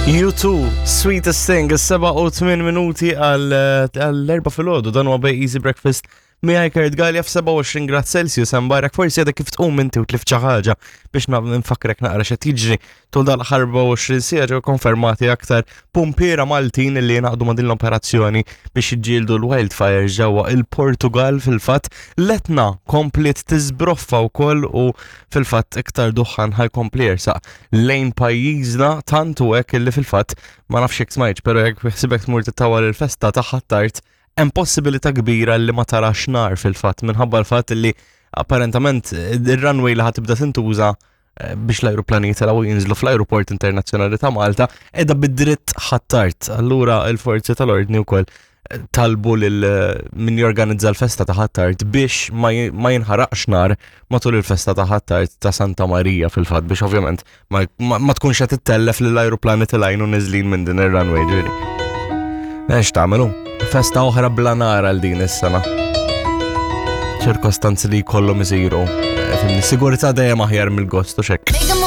U2, Sweetest Thing, is-7 u 8 minuti għall-erba filgħodu dan huwa bej Easy Breakfast miegħi Kurt Gallia f'27 grad Celsius hemm barra forsi għadek kif tqum inti u tlif xi ħaġa biex nfakrek naqra x'qed jiġri tul dal-aħħar 24 siegħa ġew konfermati aktar pumpiera Maltin li jingħaqdu ma' din l-operazzjoni biex jiġġieldu l-wildfires ġewwa il-Portugal fil-fatt l-Etna kompliet tiżbroffa wkoll u fil-fatt iktar duħħan ħajkompli jersaq lejn pajjiżna tant u hekk illi fil-fatt ma nafx jekk smajtx però jekk ħsibek tmur tittawal il-festa ta' Ħ'Attard hemm possibilità kbira li ma tarax nar fil-fatt minħabba l-fatt li apparentament ir-runway li ħatibda tintuża eh, biex l-ajruplani jitilgħu jinżlu fl-ajruport internazzjonali ta' Malta edha bid-dritt ħattart. Allura il-forzi tal-ordni wkoll eh, talbu lil eh, min jorganizza l-festa ta' Ħattart biex ma jinħaraqx nar matul il-festa ta' Ħattart ta' Santa Marija fil-fatt biex ovvjament Ma, ma, ma tkunx qed ittellef lill-ajruplani tilgħin u niżlin minn din ir-runway ġifieri. Ex tagħmelu? Festa oħra bla nar għal din is-sena. Ċirkostanzi li jkollhom isiru. Eh, fimni, sigurtà dejjem aħjar mill-gost u xekk.